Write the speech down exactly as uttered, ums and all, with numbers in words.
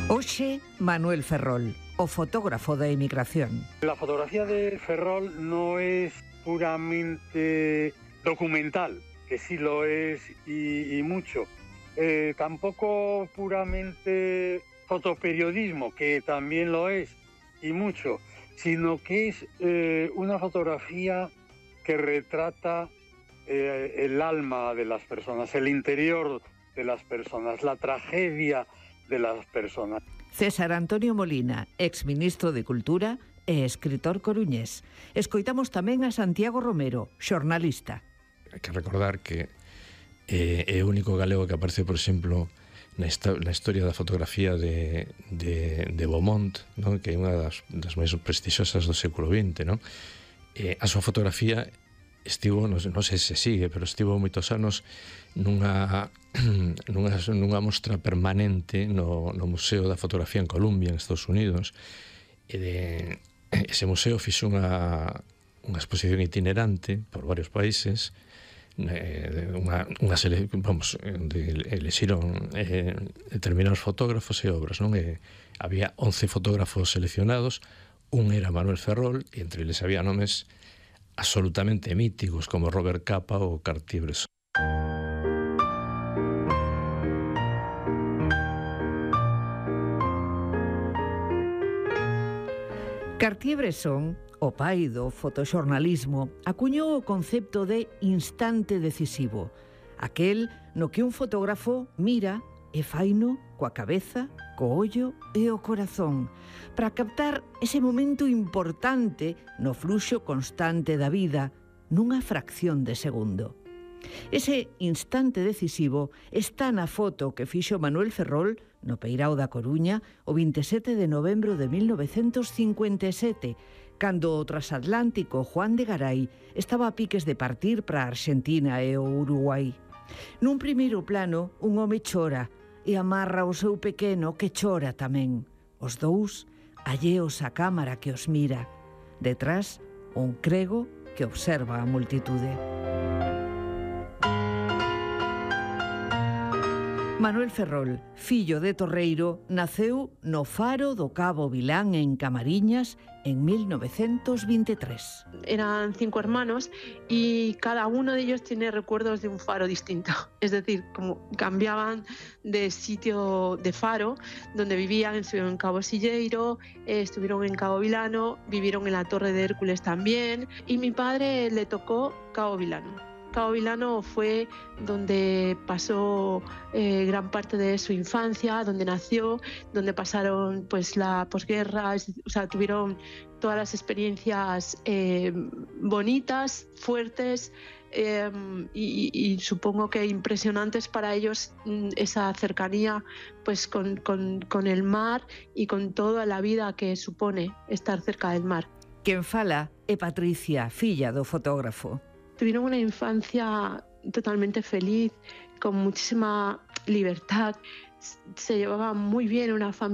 Hoxe, Manuel Ferrol, o fotógrafo da emigración. La fotografía de Ferrol no es puramente documental, que sí lo es y, y mucho. Eh, tampoco puramente fotoperiodismo, que también lo es y mucho, sino que es eh, una fotografía que retrata eh, el alma de las personas, el interior de las personas, la tragedia de las personas. César Antonio Molina, exministro de Cultura e escritor coruñés. Escoitamos tamén a Santiago Romero, xornalista. Hai que recordar que eh, é o único galego que aparece, por exemplo, na, na historia da fotografía de, de, de Beaumont, ¿no? Que é unha das, das máis prestixiosas do século vinte, ¿no? Eh, a súa fotografía estivo, non sei, non sei se sigue, pero estivo moitos anos nunha, nunha, nunha mostra permanente no, no Museo da Fotografía en Columbia, en Estados Unidos, e de, ese museo fixo unha, unha exposición itinerante por varios países, eh, unha, unha sele, vamos, de, elexiron eh, determinados fotógrafos e obras, non? E había once fotógrafos seleccionados, un era Manuel Ferrol, e entre eles había nomes absolutamente míticos como Robert Capa ou Cartier-Bresson. Cartier-Bresson, o pai do fotoxornalismo, acuñou o concepto de instante decisivo, aquel no que un fotógrafo mira e faino coa cabeza, co ollo e o corazón, para captar ese momento importante no fluxo constante da vida, nunha fracción de segundo. Ese instante decisivo está na foto que fixo Manuel Ferrol no Peirao da Coruña o vinte e sete de novembro de mil novecentos cincuenta e sete, cando o transatlántico Juan de Garay estaba a piques de partir para a Arxentina e o Uruguai. Nun primeiro plano, un home chora e amarra o seu pequeno que chora tamén. Os dous alleos á cámara que os mira. Detrás, un crego que observa a multitude. Manuel Ferrol, fillo de torreiro, naceu no Faro do Cabo Vilán en Camariñas en mil novecientos veintitrés. Eran cinco hermanos y cada uno de ellos tiene recuerdos de un faro distinto. Es decir, como cambiaban de sitio de faro, donde vivían, estuvieron en Cabo Silleiro, eh, estuvieron en Cabo Vilano, vivieron en la Torre de Hércules también, y mi padre le tocó Cabo Vilano. Cabo Vilano fue donde pasó eh, gran parte de su infancia, donde nació, donde pasaron pues la posguerra, o sea, tuvieron todas las experiencias eh, bonitas, fuertes eh, y, y supongo que impresionantes para ellos, esa cercanía pues con, con, con el mar y con toda la vida que supone estar cerca del mar. Quen fala é Patricia, filla do fotógrafo. Tuvieron una infancia totalmente feliz, con muchísima libertad, se llevaban muy bien, una familia